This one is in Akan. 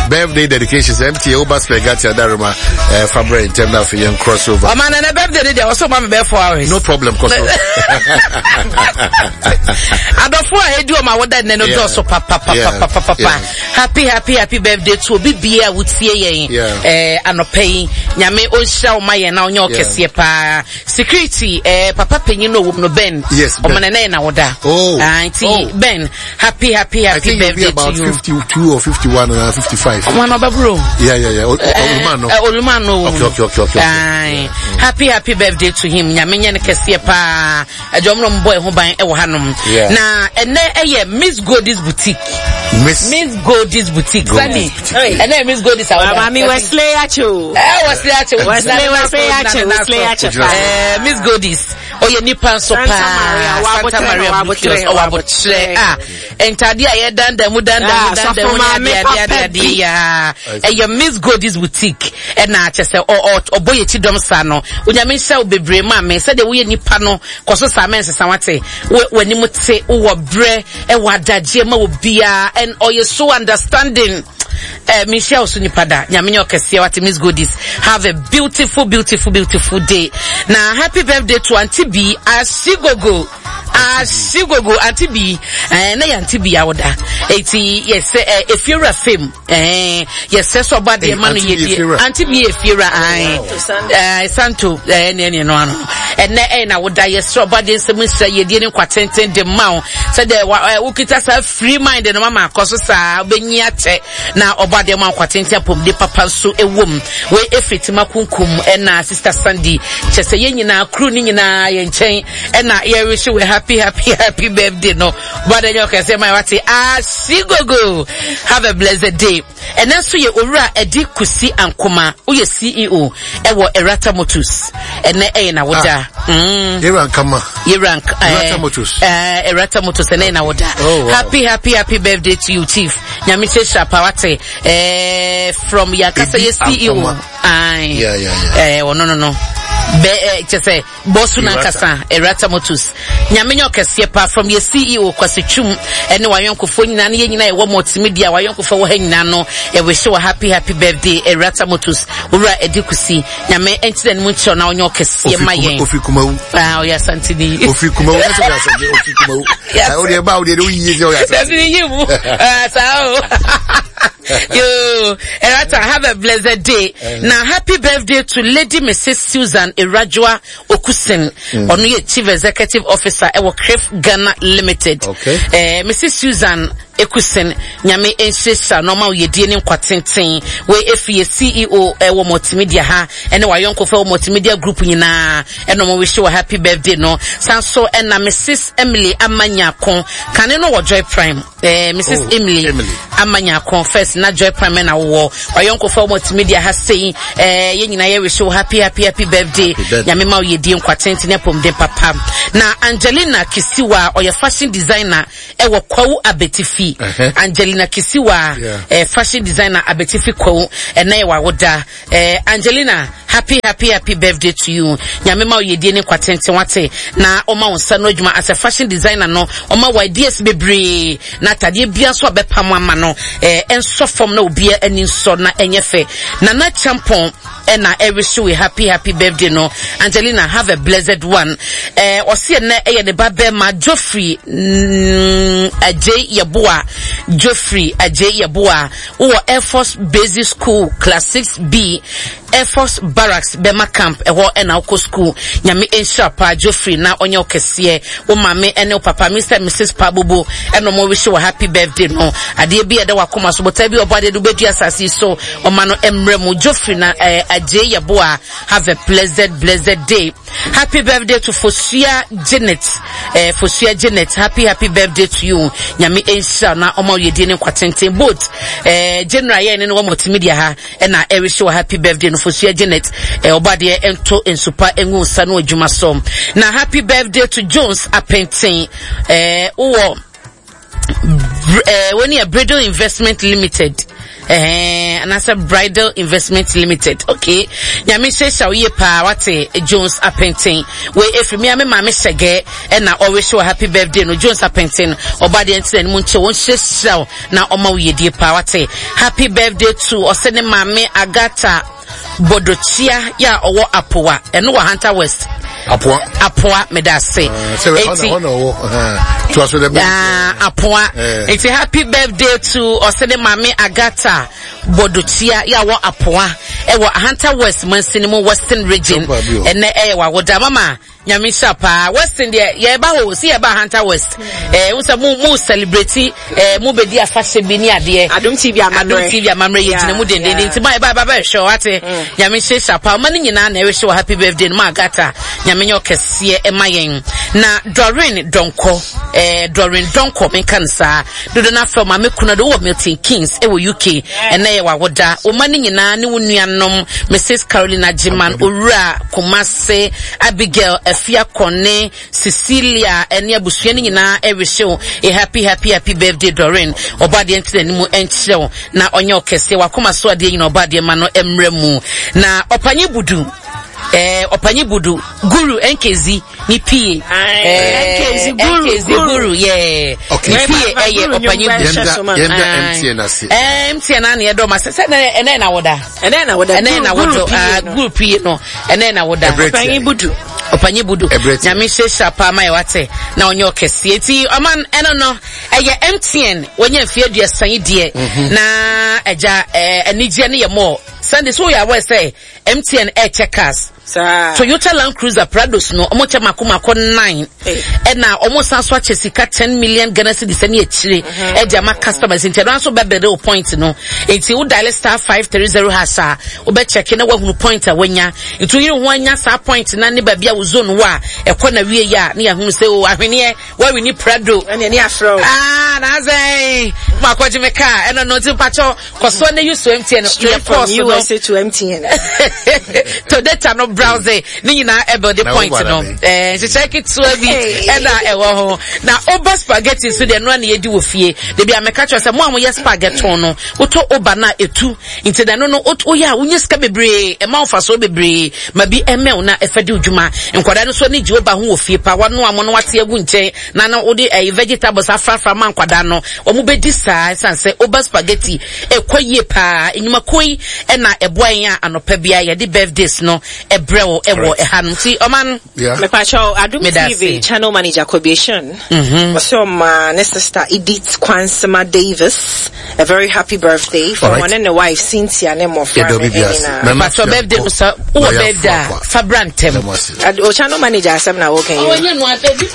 Birthday dedications MTA woba Spaghetti Adaroma fa brɛ ntɛm na afei yɛn crossover. Ɔma na na birthday no deɛ ɔsɛ ɔma me bɛyɛ 4 hours. No problem kɔ so. Adɔfo a edi ɔma woda nnɛ no dɔɔso papapapapapa. Happy happy happy birthday to obi bia a wotie yɛn anɔpa yi. Nyame ɔnhyira wo ma yɛn na ɔnyɛ ɔkɛseɛ paa. Security papa panyin no ɔwɔ mu no Ben. Yes, Ben. Ɔma na ɛnɛ na woda. Oh. Nti oh. Ben, happy happy happy I think birthday you'll be about to you. 52 or 51 or 55. Ɔma na ɔbɛboro. Yeah. Oluma no. Oluma no. Okay. Aye. Happy happy birthday to him. Nyame nyɛ no kɛseɛ paa. Ɛdwom no mbɔ ɛho ban ɛwɔ hanom. Na ɛnɛ ɛyɛ Miss Goldie's Boutique. Miss Goldie's Boutique. Sani. Ɛnɛ Miss Goldie's awoda. Mami Wesley Acho. Wesley Acho. Wesley Acho. Wesley Acho. Miss Goldie's. Ɔyɛ nipa nso paa. Santa Maria Boutique. Ɔwɔ abotrɛ. Ah, ntade a yɛdandan mu dandan mu dandan mu ne adeɛ adeɛ adeɛ adeɛ yaa. Ɛyɛ Miss Goldie's Boutique. Ɛna kyɛ sɛ ɔbɔ yɛ ti dɔm saa no. Onyame nhyɛ wo bebree maa me. Sɛdeɛ woyɛ nipa no kɔ so saa mɛnsesa wate. W'anim te, wowɔ brɛ, ɛwɔ adagyeɛ ma obiara and ɔyɛ so understanding. Menhyia wo so nipa da. Nyame nyɛ ɔkɛseɛ wate. Miss Goodies, have a beautiful beautiful beautiful day. Na happy birthday to Auntie B Ashigogo. Ashigogo Auntie B. Na yɛ Auntie B awoda. Eti yɛsɛ efiewura fam. Yɛsɛ sɛ ɔba deɛ ma no yɛ die. Auntie B efiewura ae. Santo ne no ano. Ɛnɛ na woda yɛsɛ ɔba deɛ nsɛm nhyira yɛdie ne nkwa tenten de ma wo. Sɛdeɛ wokita saa free mind no mama akɔ so saa wobɛnyi akyɛ na ɔba deɛ ma nkwa tenten apɔmuden papa nso ɛwɔ mu. Wei ɛfiri Tima Kunkum ɛna Sister Sandy. Kyɛ sɛ yɛn nyinaa crew ne nyinaa yɛn nkyɛn ɛna yɛrehye wɔ happy happy happy birthday no. Ɔba deɛ nyɛ ɔkɛseɛ ma wate asigogo. Have a blessed day. Ɛnɛ nso yɛ Owura Adi Kusi Ankoma, woyɛ CEO ɛwɔ Erata Motors. Ɛnɛ ɛyɛ na woda. Yɛwura Nkama. Yɛwura Erata Motors. Erata Motors ɛnɛ yɛ na woda. Oh, wow. Happy happy happy birthday to you chief. Nyame hyɛ pa wate. From yankasa yɛ CEO. Aye. Yeah. Ɔno no no. Be kyɛ sɛ Bosu nankasa Erata Motors. Nyame nyɛ ɔkɛseɛ paa from yɛ CEO Kwasi Twum ɛne wayɔnkofoɔ nyinaa ne yɛ nyinaa yɛwɔ multimedia wayɔnkofoɔ wɔ ha nyinaa no yɛwehye wɔ happy happy birthday Erata Motors Owura Edi Kusi. Nyame ɛnkyerɛ ne mu nkyerɛ na ɔnyɛ ɔkɛseɛ ma yɛn. Ofi Kumawu. Ah, ɔyɛ Asanteni. Ofi Kumawu. Ɛsɛ ɔyɛ Asanteni. Ofi Kumawu. Yes. O deɛ ba o deɛ o yie sɛ ɔyɛ Asanteni. Dabi yi mu. Ah, saa o. Yo, Erata, have a blessed day. Now, happy birthday to Lady Mrs. Susan Erajua Okusin. Ono ye Chief Executive Officer ewo Crif Ghana Limited. Okay. Mrs. Susan Ekusin, Nyame enhyira no ma oyedie ne nkwatenten. We efi ye CEO ewo multimedia ha, ene wayɔnkofo ewo multimedia group nyinaa. Eno mo wish you a happy birthday no. Sanso ena Mrs. Emily Amanyako. Kane no wɔ Joy Prime. Mrs. Oh, Emily, Emily. Amanyako first na Joy Prime na wo wayɔnkofo multimedia ha sei. Ye nyinaa ye wish you happy happy happy birthday. Happy birthday. Nyame ma oyedie nkwatenten apomden papa. Na Angelina Kisiwa ɔyɛ fashion designer ɛwɔ Kwawu Abetifi. Angelina Kisiwa, fashion designer Abetifi Kwawu, ɛnɛ yɛ wawoda. Angelina, happy happy happy birthday to you. Nyame ma oyedie ne nkwatenten wate na ɔma wo nsa no adwuma as a fashion designer no, ɔma wo ideas bebree na atadeɛ bia nso abɛpam ama no, ɛnsɔ fam na obia ani nsɔ na ɛnyɛ fɛ. Nana Champon ɛna ɛwish we happy happy birthday no. Angelina, have a blessed one. Ɔsi ɛnɛ ɛyɛ ne ba bɛrima Geoffrey Ajay Yeboah. Geoffrey Ajay Yeboah wowɔ Air Force Basic School Class 6B Air Force Barracks Bɛma Camp ɛhɔ ɛna wokɔ school. Nyame nhyira paa Geoffrey na ɔnyɛ wo kɛseɛ. Wo maame ɛne wo papa Mr and Mrs Pabobo ɛna ɔmo wish wɔ happy birthday no. Adeɛ bi a ɛda wakoma so botae bi ɔbɔ adeɛ de wobɛdua asase yi so ɔma no mmerɛ mu. Geoffrey na Ajay Yeboah, have a blessed blessed day. Happy birthday to Fosuya Janet. Fosuya Janet, happy happy birthday to you. Nyame nhyira na ɔma oyedie ne nkwatenten. Both General yɛ ne no wɔ multimedia ha ɛna ɛrehye wɔ happy birthday no Fosuya Janet. Ɔba deɛ ɛnto nsupa engu nsa no adwuma so. Na happy birthday to Jones Apenten. Wowɔ wɔn yɛ Bridle Investment Limited. Ɛhɛn, anaasɛ Bridal Investment Limited. Okay. Nyame nhyirahyira wo yie paa wate Jones Apenten. Wei ɛfiri me a me maame hyɛgɛ ɛna ɔrehyɛ wɔ happy birthday no Jones Apenten. Ɔba deɛ nti n'anim nkyɛ wɔn nhyirahyira wo na ɔma wo yiedie paa wate. Happy birthday to ɔsɛ ne maame Agatha Bodokyia yɛ a ɔwɔ Apowa. Ɛno wɔ Hunter West. Apoa. Apoa meda ase. Ah, eti ah, Apoa. Eh. Eti happy birthday to ɔsɛ ne maame Agatha Bodokyia yɛ a wɔ Apoa ɛwɔ Ahanta West mansini mu Western Region. Ɛnɛ ɛyɛ wawoda mama. Nyame nhyira paa. Western deɛ yɛba hɔ si yɛba Hunter West. Eh, wo sɛ mo mo celebrate eh mo bedi afahyɛ bi ne adeɛ. Adom TV amammerɛ. Adom TV amammerɛ yɛ gyina mu dendenden nti ma yɛba yɛba bɛhwɛ wate. Mm. Nyame nhyira paa. Ɔma ne nyinaa na ɛrehwɛ wɔ happy birthday no ma Agata. Nyame nyɛ ɔkɛseɛ ɛma yɛn. Na Doreen Donkɔ eh Doreen Donkɔ menka no saa. Dodo no afrɛ maame kuna do wɔ Milton Keynes ɛwɔ UK. Ɛnɛ yɛ wawoda. Ɔma ne nyinaa ne wo nuanom Mrs Carolina Gyeman Owura Kumasi Se Abigail, Afia Kone, Cecilia ɛne abusua no nyinaa ɛrehye wo a happy happy happy birthday Doreen. Ɔbɔ adeɛ nti n'anim nkyerɛ wo na ɔnyɛ ɔkɛseɛ wakoma so adeɛ nyina ɔbɔ adeɛ ma no mmerɛ mu. Na ɔpanyin budu eh, ɔpanyin budu guru nkezi ne pie eh, nkezi guru yeah okay. ne pie ɛyɛ ɔpanyin budu. Yɛnda MTN ase. Eh, MTN na yɛdɔ ma sɛ sɛ ɛnɛ na woda. Ɛnɛ na woda. Ɛnɛ na wodo ah, guru pie no ɛnɛ na woda. Ɔpanyin budu. Ɔpanyin budu. Nyame hyehyɛ paa ma yɛ wate na ɔnyɛ ɔkɛseɛ nti ɔman ɛno no ɛyɛ MTN wɔnyɛ mfeɛ aduasa yi deɛ mhm. na ɛgya ɛɛ anigyeɛ no yɛ mɔɔ Sunday so yɛ awɔ sɛ MTN ɛɛkyɛ cars. Toyota Land Cruiser Prados no ɔmo kyɛ mako mako nine ɛna ɔmo san so akyɛ sika ten million Ghana cedis ɛne akyire mhm. ɛde ama customers nti ɛno nso bɛbɛde o point no nti wo dial star 530 hash a wobɛkyɛke na wahunu point a wanya nti woyere ho anya saa point na ne baabi a wo zone wɔ a ɛkɔ na wie yɛ a ne yɛahunu sɛ o ahweneɛ wawini Prado ɛne ɛne afrɛ o ah na asɛn ma akɔgye me kaa ɛno no nti mpakyɛw kɔsoɔ ne use MTN straight from USA to MTN to data no browse ne nyinaa ɛbɛ de point no ɛɛ nhyehyɛ ketewa bi ɛna ɛwɔ ho na oba spaghetti nso deɛ noa na yɛdi wɔ fie debi a mɛka kyerɛ sɛ mo a moyɛ spaghetti no wotɔ oba na etu nti na ɛno no woyɛ a wonya sika bebree ɛma wo mfasoɔ bebree ma bi ɛmɛw na ɛfa di dwuma nkwadaa no nso ani gye oba ho wɔ fie pa wanoa mo no wate agu nkyɛn na na wode ɛyi vegetables afrafra ma nkwadaa no wɔn bɛdi saa ɛsan sɛ oba spaghetti ɛkɔ yie paa enyumakuo yi ɛna ɛboa yɛn a anɔpa bia yɛde birthdays no ɛbrɛ wo ɛwɔ ɛha no nti ɔman. Mepakyɛw Adom TV channel manager Kobieshun ɔsɛ ɔma ne sister Edith Kwansema Davis a very happy birthday from ɔne ne wife Cynthia ne mmɔfra no nyinaa. Mepakyɛw birthday no sɛ wowɔ birthday a fa bra ntɛm. O channel manager asɛm na wɔka yi. Ɔnyɛ no asɛ bi kura.